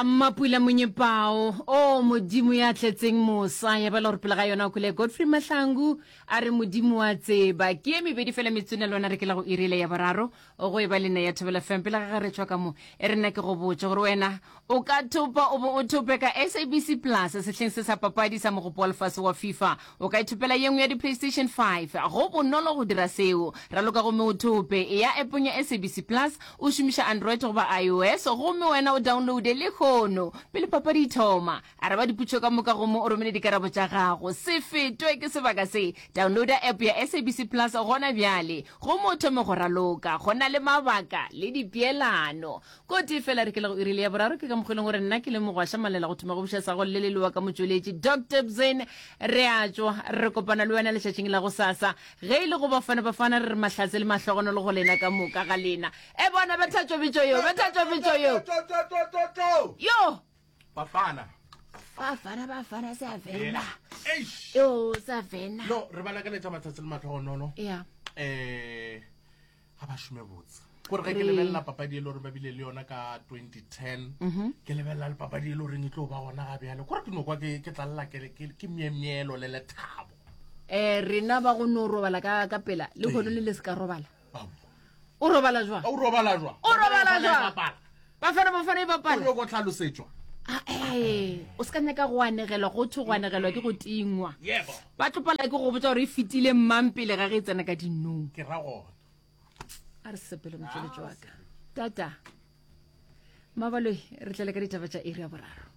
Ya Mmapula Monyepao, O Modimo ya tletseng mosa, ya bala gore pele ga yona o kwele Godfrey Mahlangu a re Modimo wa tseba. Ke ye mebedi fela metswene le wena re ke la go irile ya boraro go e ba le nna ya Thobela FM pele ga ge re tšwa ka mo e re nna ke go botše gore wena o ka thopa o bo o thope ka SABC Plus sehleng se sa papadi sa mogopo wa lefase wa FIFA. O ka ithopela ye nngwe ya di-PlayStation 5. Go bonolo go dira seo. Raloka gomme o thope. Eya appong ya SABC Plus o šomiša Android goba iOS gomme wena o downloade lehono pele papadi e thoma. Araba dipotšišo ka moka gomme o romele dikarabo tša gago. Se fetwe ke sebaka se. Downloada app ya SABC Plus gona bjale gomme o thome go raloka. Go na le mabaka le dipeelano. Kotsi fela re ke le go iri le ya boraro ke ka mokgwa e leng gore nna ke le mogwaša malela go thoma go buša sa go le lelewa ka motšweletši Doctor Bzin re a tšwa re kopana le wena letšatšing la go sasa ge e le go bafana bafana re re mahlatse le mahlogonolo go lena ka moka ga lena e bona betha tšobitšo yo betha tšobitšo yo yo Bafana bafana bafana sa vena yo sa vena no re ba lakaletša matsatsi le mahlogonolo yeah eh ga ba šome botse gore ge ke lebelela papadi e le gore ba bile le yona ka 2010 mhm. ke lebelela le papadi e le goreng e tlo ba gona ga bjale kore ke no kwa ke tlalela ke myemyelo le lethabo um rena ba go no robala ka pela le kgono le le se ka robala o robala jwa o robala jwa o robala jwa bafana bafana e bapala o go tlhalosetšwa ah, o se ka nyaka go anegelwa go thwe go anegelwa ke go tingwa ba tlopala ke go botsa gore e fetile mmang pele ga ge e tsena ka dinong ke ra gona a re sepele motšweletši wa ka tata mabaloi re tlele ka ditaba tša iri ya boraro.